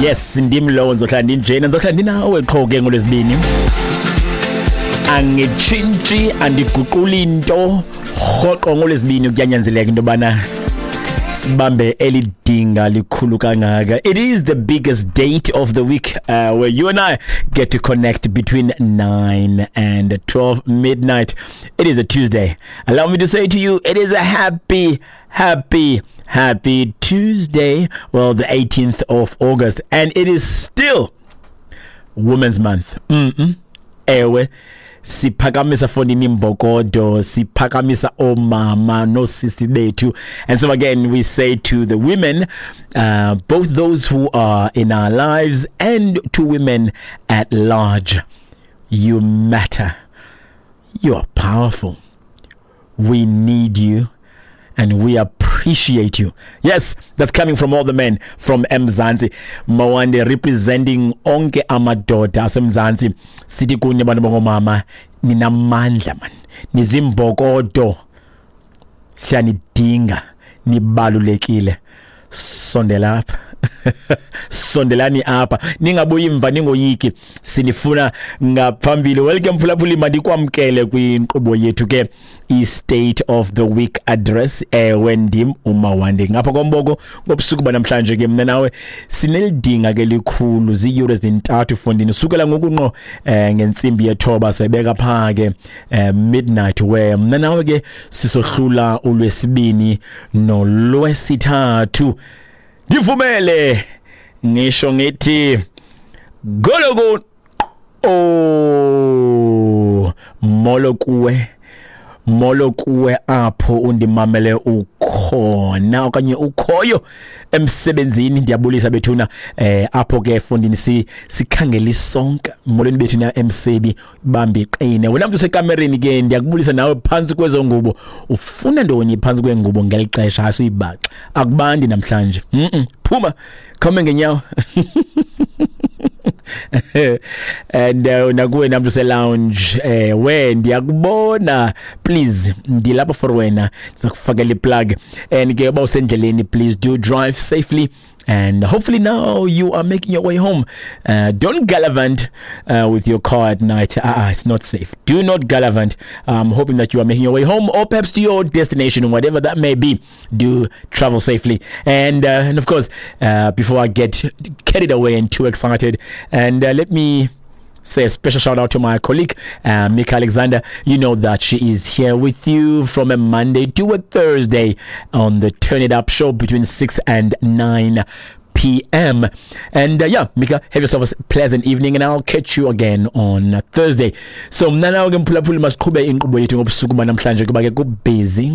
Yes, ndim lowo, ndizohlala ndinjena, ndizohlala ndinawe qho ke ngoLwezibini. Angitshintshi, andiguquli into. Rhoqo ngoLwezibini kuyanyanzeleka into yobana sibambe elidinga likhulu kangaka. It is the biggest date of the week, where you and I get to connect between 9 and 12 midnight. It is a Tuesday. Allow me to say to you, it is a happy, happy, happy Tuesday. Well, the 18th of August, and it is still Women's Month. Ewe, siphakamisa fondini imbokodo, siphakamisa omama nosisi bethu. And so again we say to the women, both those who are in our lives and to women at large, you matter, you are powerful, we need you and we appreciate you. Yes, that's coming from all the men from Mzansi. Mawande representing onke amadoda asemzansi. Sithi kuni bantu bangomama, ninamandla man. Nizimbokodo. Siyanidinga, nibalulekile. Sondela apha. Sondelani apha, ningabuyi mva, ningoyiki, sinifuna ngaphambili. Welcome mphulaphuli, mandikwamkele kwinkqubo yethu ke, i-State of the Week Address. Ewe, ndim uMawande ngapha komboko. Ngobusuku banamhlanje ke mna nawe sinelidinga ke likhulu, ziiyure ezintathu fondini, sukela ngoku ngqo ngentsimbi yethoba sayibeka phaa ke midnight, where mna nawe ke sisohlula uLwesibini noLwesithathu. Ndivumele ngisho ngithi gologo, oh, molo kuwe, molo kuwe apho undimamele ukhona okanye ukhoyo emsebenzini. Ndiyabulisa bethuna, apho ke efundini sikhangela isonka. Molweni bethuna emsebi, bambi iqine. Wena mntu usekamereni ke, ndiyakubulisa nawe phantsi kwezo ngubo. Ufuna ntoni phantsi kwengubo ngeli xesha? Asiyibaxa, akubandi namhlanje. Phuma khawume ngenyawo. And nakuwe namntu use-lounge, we ndiyakubona, please, ndilapha for wena, ndiza kufakela iplug. And ke uba usendleleni, please do drive safely, and hopefully now you are making your way home. Don't gallivant with your car at night. It's not safe. Do not gallivant. I'm hoping that you are making your way home or perhaps to your destination, whatever that may be. Do travel safely. And of course, before I get carried away and too excited, and let me say a special shout out to my colleague, Mika Alexander. You know that she is here with you from a Monday to a Thursday on the Turn It Up show between 6 and 9 p.m. And yeah, Mika, have yourself a pleasant evening, and I'll catch you again on Thursday. So mna nawe ke mphulaphuli, masiqhube inkqubo yethu ngobusuku banamhlanje, kuba ke kubusy,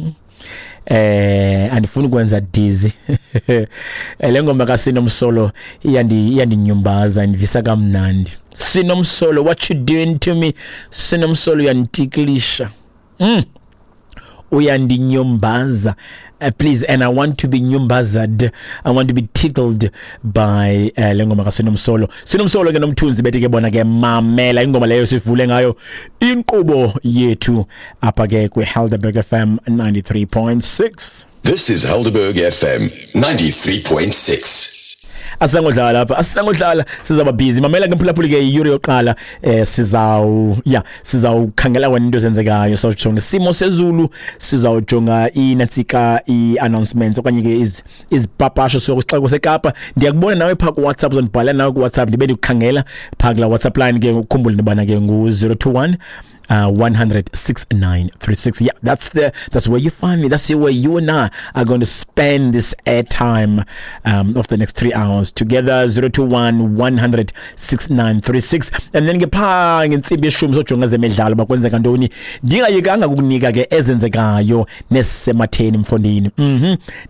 andifuni ukwenza dizzy. Le ngoma kaSinomsolo iyandinyumbaza, indivisa kamnandi. Sinomsolo, what you doing to me? Sinomsolo, uyanditiklisha, uyandinyumbaza. Please, and I want to be nyumbazad, I want to be tickled by le ngoma kaSinomsolo. Sinomsolo ke noMthunzi bethi ke bona ke mamela ingoma leyo sivule ngayo inkqubo yethu apha ke kwi-Helderberg FM 93.6. This is Helderberg FM 93.6. Asisangodlala lapha, asisangodlala, sizaba busy. Mamela ke mphulaphuli ke, iyure yokuqala sizawu yeah, sizawukhangela wena into ezenzekayo, sizawujonga isimo sezulu, sizawujonga inantsika i-announcements okanye ke izipapasho sixeko seKapa. Ndiyakubona nawe phaa kuWhatsApp, uzondibhalela nawe kuWhatsApp, ndibe ndikukhangela phaa kula WhatsApp line ke. Ukhumbule into yobana ke ngu-021 100 6936. Yeah, that's where you find me. That's where you and I are going to spend this airtime of the next 3 hours together. 021 100 6936. And then ke phaa ngentsimbi yeshumi sojonga zemidlalo, bakwenzeka ntoni. Ndingayekanga ukukunika ke ezenzekayo nezisematheni mfondini.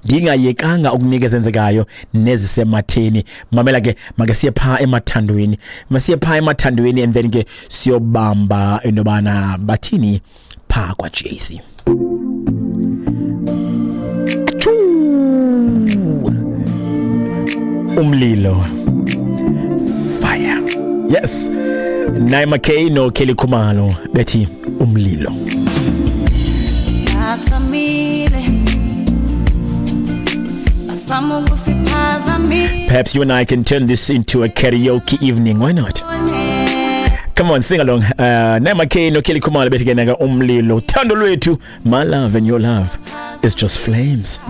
Ndingayekanga ukunika ezenzekayo nezisematheni. Mamela ke, make siye phaa emathandweni. Masiye phaa emathandweni and then ke siyobamba into yobana bathini phaa kwa-JC. Achoo! Umlilo. Fire. Yes. Naima K no Kelly Khumalo bethi umlilo. Basamile. Bazama ukusiphazamisa. Perhaps you and I can turn this into a karaoke evening. Why not? Come on, sing along. Nema K no Kelly Khumalo bethi ke naka umlilo. Thando lwethu, my love and your love is just flames.